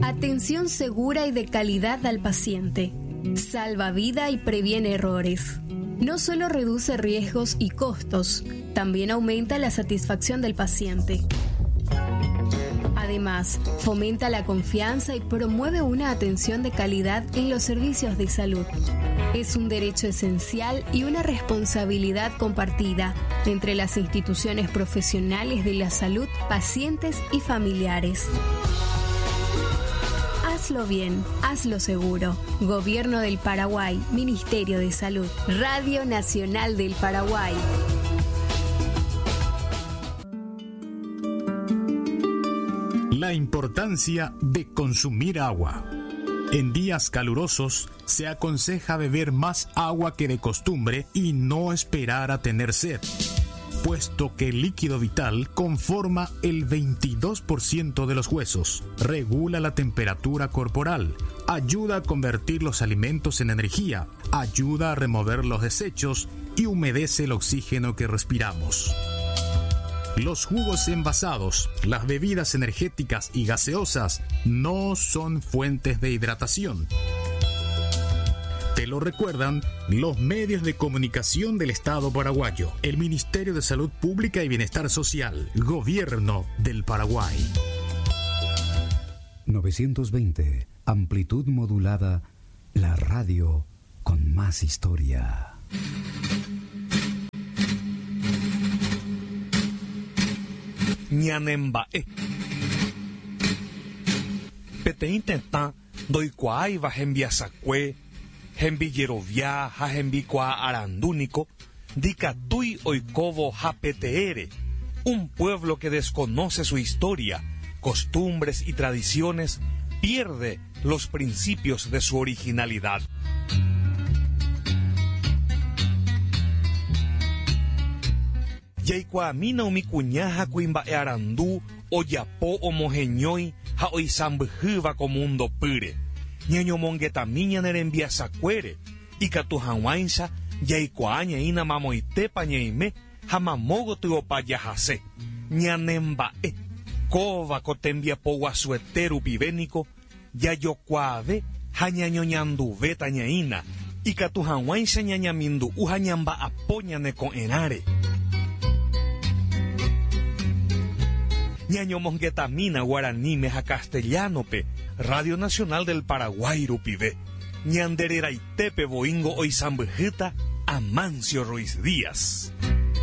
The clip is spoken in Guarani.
Atención segura y de calidad al paciente. Salva vida y previene errores. No solo reduce riesgos y costos, también aumenta la satisfacción del paciente. Además, fomenta la confianza y promueve una atención de calidad en los servicios de salud. Es un derecho esencial y una responsabilidad compartida entre las instituciones profesionales de la salud, pacientes y familiares. Hazlo bien, hazlo seguro. Gobierno del Paraguay, Ministerio de Salud, Radio Nacional del Paraguay. La importancia de consumir agua. En días calurosos se aconseja beber más agua que de costumbre y no esperar a tener sed, puesto que el líquido vital conforma el 22% de los huesos, regula la temperatura corporal, ayuda a convertir los alimentos en energía, ayuda a remover los desechos y humedece el oxígeno que respiramos. Los jugos envasados, las bebidas energéticas y gaseosas no son fuentes de hidratación. Te lo recuerdan los medios de comunicación del Estado paraguayo, el Ministerio de Salud Pública y Bienestar Social, Gobierno del Paraguay. 920, amplitud modulada, la radio con más historia. Ñanemba'e. Peteĩ tetã ndoikuaáiva hembiasakue, hembijerovia ha hembikuaa arandu niko ndikatúi oikóvo hapeteére, un pueblo que desconoce su historia, costumbres y tradiciones pierde los principios de su originalidad. Jaikuaamína umi kuña ha kuimba'e arandu ojapo omoheñói ha oisãmbyhýva ko múndo pýre. Ñañomongetami ñane rembiasakuére, ikatu hag̃uáicha jaikuaa ñaína mamoitépa ñaime ha mamo gotyopa jahase. Ñanemba'e, kóva ko tembiapo guasuete rupive niko jajokuaave ha ñañoñanduvéta ñaína, ikatu hag̃uáicha ñañamindu'u ha ñamba'apo ñane ko'ẽrãre. Ñañomongetamína guaraníme ha castellano-pe Radio Nacional del Paraguay rupive. Ñande reraitépe voíngo oisãmbyhýta Amancio Ruiz Díaz.